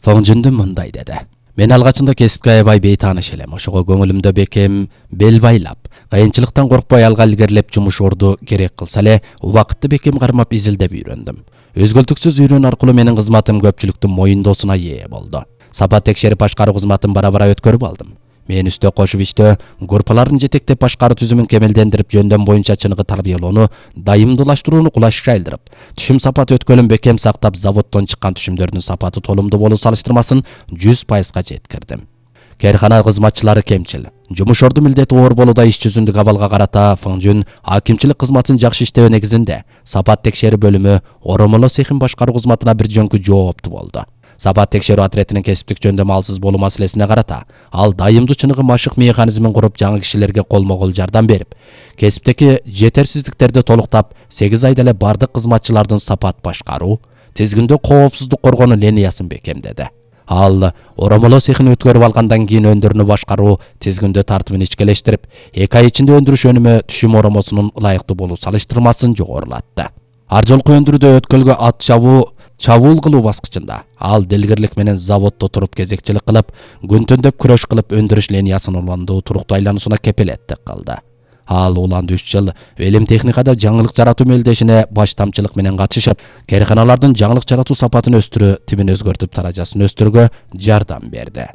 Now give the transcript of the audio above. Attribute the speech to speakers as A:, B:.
A: Фоңжундун мындай деди. Мен алгачында кесипке аябай бейтааныш элем. Ошого көңүлүмдө бекем бел байлап, кыйынчылыктан коркпой алга илгерилеп жумуш орду керек кылса эле, убакытты бекем кармап изилдеп үйрөндүм. Өзгөлтүксүз үйрөнүү аркылуу менин кызматым көпчүлүктүн моюндоосуна ээ болду. Сапат текшерип башкаруу кызматын бара-бара өткөрүп алдым. Мен үстө кошуп иштөө, группаларын жетектеп башкаруу түзүмүн кемелдендирип, жөндөм боюнча чыныгы тарбиялоону, дайымдуулаштырууну кулашка айлдырып, түшүм сапаты өткөлүн бекем сактап, заводдон чыккан түшүмдөрдүн сапаты толумдуу болуу салыштырмасын 100%га жеткирдим. Кээркана кызматчылары кемчил. Жумуш орду милдети оор болууда иш жүзүндүк абалга карата Фоңжун акимчилик кызматын жакшы иштөө негизинде сапат текшерүү бөлүмү оромоло цехин башкаруу кызматына бир жөнкү жооптуу болду. Сапат текшерүү отрядынын кесиптик жөндөмү алсыз болуу маселесине карата ал дайымдуу чыныгы машык механизмин куруп, жаңы кишилерге колмо-кол жардам берип, кесиптеги жетерсиздиктерди толуктап, 8 айда эле бардык кызматчылардын сапат башкаруу, тизгиндөө коопсуздук коргонуу линиясын бекемдеди. Ал оромоло цехин өткөрүп алгандан кийин өндүрүүнү башкаруу тизгиндөө тартыбын ичкелештирип, 2 ай ичинде өндүрүш өнүмү түшүм оромосунун ылайыктуу болуу салыштырмасын жогорулатты. Ар жолку өндүрүүдө өткөлгө ат чабуул кылуу баскычында ал делгирлик менен заводдо туруп кезекчилик кылып, күн-түндөп күрөш кылып өндүрүш линиясынын уландуу туруктуу айлануусуна кепилеттик кылды. Ал уланды 3 жыл элим техникада жаңылык жаратуу мелдешине баштамчылык менен катышып, кээрканалардын жаңылык жаратуу сапатын өстүрүү, тибин өзгөртүп, даражасын өстүрүүгө жардам берди.